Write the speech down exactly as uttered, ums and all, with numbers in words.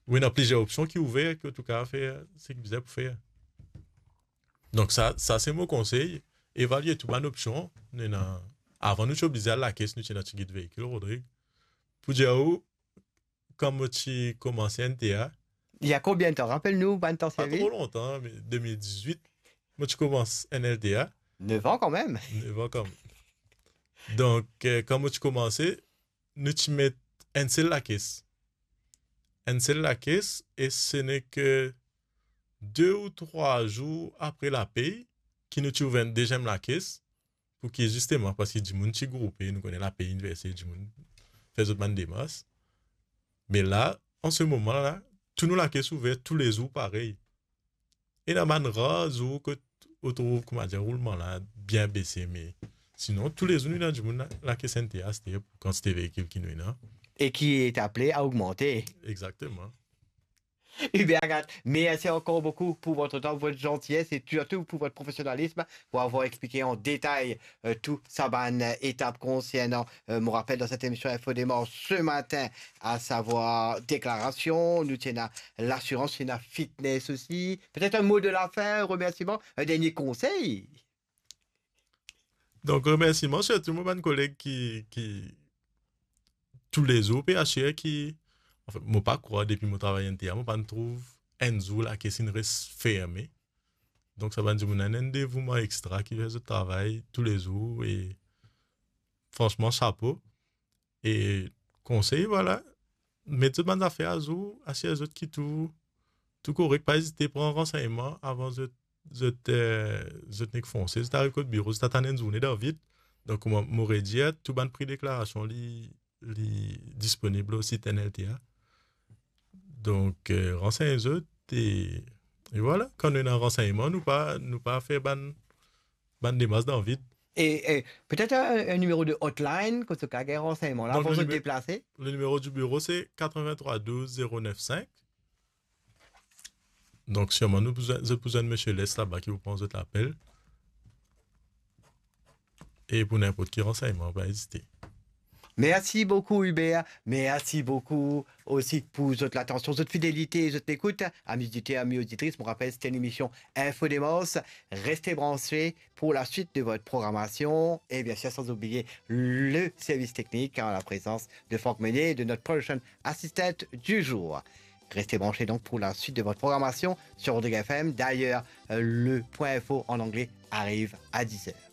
Ou ena plizier opsion ki ouver, ki ou kapav fer seki bizin pou fer. Donk sa, sa se mo konsey, evalie tou bann opsion. Nou ena, avan nou ti oblize al lakes, nou ti ena tigit veikil, Rodrig. Pou dir ou, kan mo ti komanse N T A, Il y a combien de temps? Rappelle-nous, bann tan pa servi. Tro lontan, me de mil dizwit, mo ti koumans N L T A. Neuf ans quand même. Neuf ans quand même. Donk, eh, kan mo ti koumanse, nou ti met enn sel lakes. Enn sel lakes, e se nek de ou trwa zour apre lapey ki nou ti ouver enn deziem lakes, pou ki zisteman, parski dimoun ti groupe, nou kone lapey iniverse, dimoun fer zot bann demars. Me la, an se moman la, tou nou lakes ouver toulezour parey. Ena bann rar zour kot ou trouv, koumadir, roulman la bien bese, me sinon, toulezour nou ena dimoun la, lakes N T A aster pou kantite veikil ki nou ena. Et qui est appelé à augmenter. Exactement. Hubert Agathe, merci encore beaucoup pour votre temps, votre gentillesse et surtout pour votre professionnalisme, pour avoir expliqué en détail, euh, tout sa bann etap konsernan, euh, mo rapel dan set emision Info Demars se matin, a savwar deklarasion, nou ti ena lasirans, ti ena fitness osi. Petet enn mo de la fin, enn remersiman, enn dernie konsey. Donk, remersiman sirtou mo bann koleg ki, ki toulezour pe asire ki, anfin, mo pa krwar depi mo travay N T A, mo pa'nn trouv enn zour lakes inn res ferme. Donk, sa bann dimoun la ena enn devouman extra ki fer zot travay toulezour e fransman, sapo. E konsey, vwala, met zot bann zafer azour, asir zot ki tou, tou korek, pa ezite pran ransegnman avan zot, zot, eh, zot nek fonse, zot ariv kot biro, zot atann enn zourne dan vid. Donk, kouma mo redir, tou bann pri deklarasion, li, li disponib lor sit N L T A. Donk, eh, ransegn zot e, e vwala, kan nou ena ransegnman, nou pa, nou pa fer bann, bann demars dan vid. Et, et peut-être un, un numéro de hotline, kot zot kapav gagn ransegman la, donk, avan zot deplase. Le numéro du bureau, c'est quatre-vingt-trois douze zéro neuf cinq. Donk, sirman, nou pou zwenn, zot pou zwenn Misie Les laba ki pou pran zot lapel. E pou ninport ki ransegnman, pa ezite. Merci beaucoup, Hubert. Merci beaucoup aussi pour zot latansion, zot fidelite, zot lekout. Amis auditeurs, amis auditrices, mo rapel, c'était une émission Info Demars. Restez branchés pour la suite de votre programmation. Et bien sûr, sans oublier le service technique, en la présence de Franck Meunier et de notre production assistant du jour. Restez branchés donc pour la suite de votre programmation sur Rodrigue F M. D'ailleurs, euh, le point info en anglais arrive à dix heures.